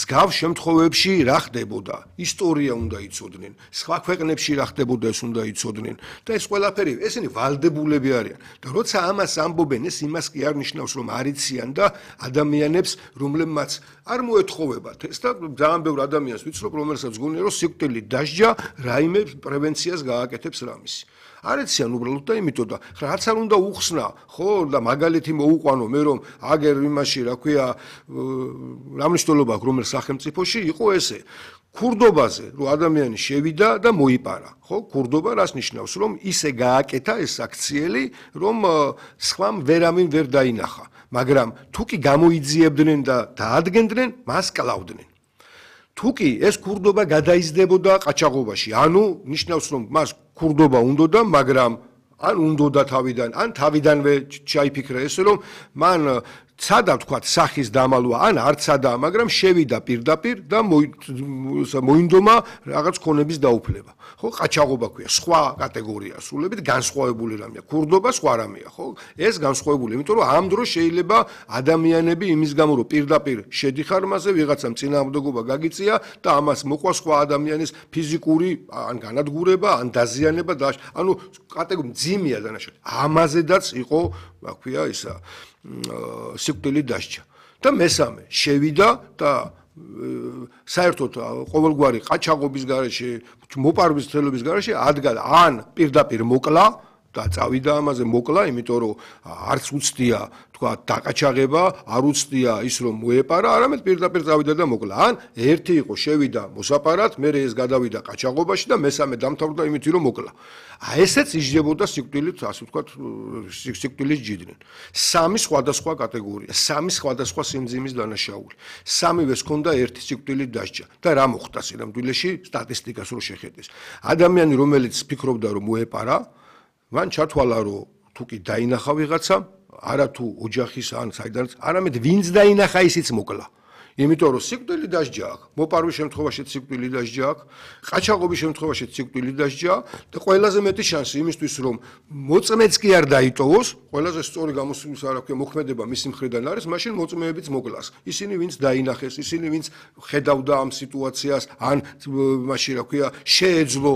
მსგავს შემთხვევებში რა ხდებოდა, ისტორია უნდა იცოდნენ, სხვა ქვეყნებში რა ხდებოდა ეს უნდა იცოდნენ და ეს ყველაფერი ესენი ვალდებულები არიან და როცა ამას ამბობენ ეს იმას კი არ ნიშნავს რომ არიციან და ადამიანებს რომლებმაც არ მოეთხოვებათ ეს და ძალიან ბევრ ადამიანს ვიცნობ რომელსაც გონია რომ სიკვდილი დასჯა რაიმე პრევენციას გააკეთებს რამისი არიციან უბრალოდ და იმიტომ და რაც არ უნდა უხსნა ხო და მაგალითი მოუყვანო მე რომ აგერ იმაში რა ქვია რა მნიშვნელობა აქვს რომელ სახელმწიფოში იყო ესე ქურდობაზე რომ ადამიანი შევიდა და მოიპარა ხო ქურდობა რას ნიშნავს რომ ისე გააკეთა ეს აქციელი რომ სხვამ ვერავინ ვერ დაინახა მაგრამ თუ კი გამოიძიებდნენ და დაადგენდნენ მას კლავდნენ თუ კი ეს ქურდობა გადაიზრდებოდა ყაჩაღობაში ანუ ნიშნავს რომ მას ქურდობა უნდოდა მაგრამ ან უნდოდა თავიდან ან თავიდანვე ჩაიფიქრა ესე რომ მან ცადა თქვათ სახის დამალვა ან არ ცადა მაგრამ შევიდა პირდაპირ და მოინდომა რაღაც ქონების დაუფლება ხო ყაჩაღობა ქვია სხვა კატეგორია სულებით განსხვავებული რამეა ქურდობა სხვა რამეა ხო ეს განსხვავებული იმიტომ რომ ამ დროს შეიძლება ადამიანები იმის გამო რომ პირდაპირ შედიხარ მასზე ვიღაცამ წინააღმდეგობა გაგიწია და ამას მოყვა სხვა ადამიანის ფიზიკური ან განადგურება ან დაზიანება და ანუ კატეგორია მძიმეა დანაშაული ამაზედაც იყო რა ქვია ისა სიკვდილი დასჯა და მესამე შევიდა და საერთოდ ყოველგვარი ყაჩაღობის გარეშე მოპარვის ცდელობის გარეშე ადგა ან პირდაპირ მოკლა და წავიდა ამაზე მოკლა იმიტომ რომ არც უცდია თქვა დაკაჩაღება არ უცდია ის რომ მოეპარა არამედ პირდაპირ წავიდა და მოკლა ან ერთი იყო შევიდა მოსაპარად მე ეს გადავიდა ყაჩაღობაში და მესამე დამთავრდა იმით რომ მოკლა ესეც იჯდებოდა სიკვდილით ასე ვთქვათ სიკვდილის ჯიდნენ სამი სხვადასხვა კატეგორია სამი სხვადასხვა სიმძიმის დანაშაული სამივეს ჰქონდა ერთი სიკვდილით დასჯა და რა მოხდა სინამდვილეში სტატისტიკას რო შეხედეს ადამიანი რომელიც ფიქრობდა რომ მოეპარა მან ჩათვალა რომ თუ კი დაინახა ვიღაცა არა თუ ოჯახის ან საიდანაც არამედ ვინც დაინახა ისიც მოკლა იმიტომ რომ სიკვდილი დასჯა აქვს მოპარვის შემთხვევაშიც სიკვდილი დასჯა აქვს ყაჩაღობის შემთხვევაშიც სიკვდილი დასჯა და ყველაზე მეტი შანსი იმისთვის რომ მოწმეც კი არ დაიტოვოს ყველაზე სწორი გამოსვლის არ აქვს მოქმედება მისი მხრიდან არის მაშინ მოწმეებიც მოკლას ისინი ვინც დაინახეს ისინი ვინც ხედავდა ამ სიტუაციას ან მაშინ რა ქვია შეეძლო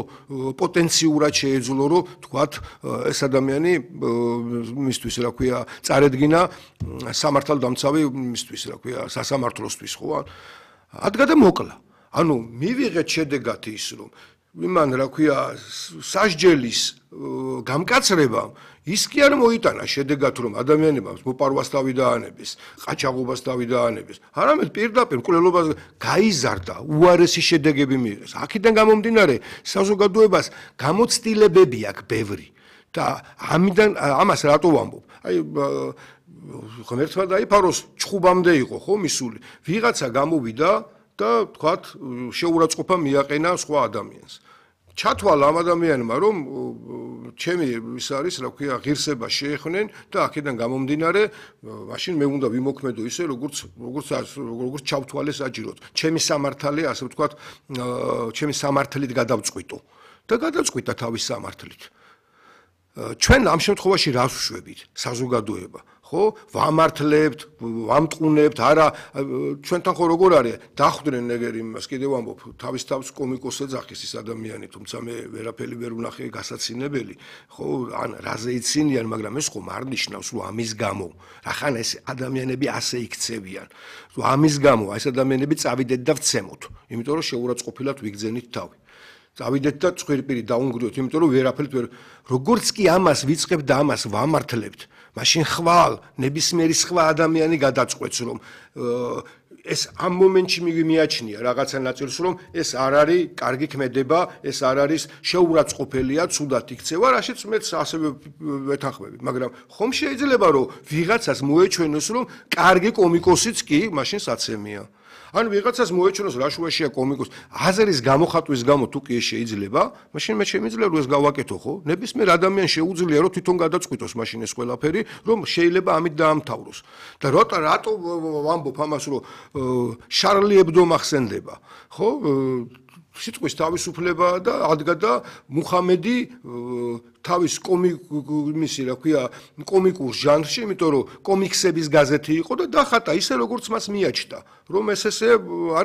პოტენციურად შეეძლო რომ თქვათ ეს ადამიანი მისთვის რა ქვია წარედგინა სამართალდამცავი მისთვის რა ქვია სასამართლოსთვის ხო ადგა და მოკლა ანუ მივიღეთ შედეგად ის რომ იმან რა ქვია სასჯელის გამკაცრებამ ის კი არ მოიტანა შედეგად რომ ადამიანებმა მოპარვას დავიდაანების ყაჩაღობას დავიდაანების არამედ პირდაპირ მკვლელობას გაიზარდა უარესი შედეგები მიიღეს აქედან გამომდინარე საზოგადოებას გამოცდილებები აქვს ბევრი და ამიდან ამას რატო ვამბობ აი ღმერთმა დაიფაროს ჩხუბამდე იყო ხო მისული ვიღაცა გამოვიდა და თქვათ შეურაცხყოფა მიაყენა სხვა ადამიანს ჩათვალა ამ ადამიანმა რომ ჩემი ის არის რა ქვია ღირსება შეეხნენ და აქედან გამომდინარე მაშინ მე უნდა ვიმოქმედო ისე როგორც ჩავთვალე საჭიროდ ჩემი სამართალი ასე ვთქვათ ჩემი სამართლით გადავწყვიტო და გადავწყვიტა თავის სამართლით ჩვენ ამ შემთხვევაში რას ვშვებით საზოგადოება ხო ვამართლებთ ვამტყუნებთ არა ჩვენთან ხო როგორ არის დახვდნენ ეგერ იმას კიდევ ამბობ თავის თავს კომიკოსზე ძახის ის ადამიანი თუმცა მე ვერაფერი ვერ ვნახე გასაცინებელი ხო ან რაზე იცინიან მაგრამ ეს ხომ არ ნიშნავს რომ ამის გამო რახან ეს ადამიანები ასე იქცევიან რომ ამის გამო ეს ადამიანები წავიდეთ და ვცემოთ იმიტომ რომ შეურაცხყოფილად ვიგზენით თავი წავიდეთ და წვირპირი დაუნგრიოთ იმიტომ რომ ვერაფერით ვერ როგორც კი ამას ვიწყებთ და ამას ვამართლებთ მაშინ ხვალ ნებისმიერი სხვა ადამიანი გადაწყვეტს რომ ეს ამ მომენტში მიაჩნია რაღაცა ნაწილს რომ ეს არ არის კარგი ქმედება ეს არ არის შეურაცხყოფელია ცუდად იქცევა რაშიც მეც ასევე ვეთანხმები მაგრამ ხომ შეიძლება რომ ვიღაცას მოეჩვენოს რომ კარგი კომიკოსიც კი მაშინ საცემია ან ვიღაცას მოეჩვენოს რა შუაშია კომიკოს აზრის გამოხატვის გამო თუ კი შეიძლება მაშინ მე შემიძლია რომ ეს გავაკეთო ხო ნებისმიერ ადამიანს შეუძლია რომ თვითონ გადაწყვიტოს მაშინ ეს ყველაფერი რომ შეიძლება ამით დაამთავროს და რატო ვამბობ ამას რომ შარლი ებდო მახსენდება ხო სიტყვის თავისუფლება და ადგა და მუჰამედი თავის მისი რა ქვია კომიკურ ჟანრში იმიტომ რომ კომიქსების გაზეთი იყო და დახატა ისე როგორც მას მიაჩნდა რომ ეს არის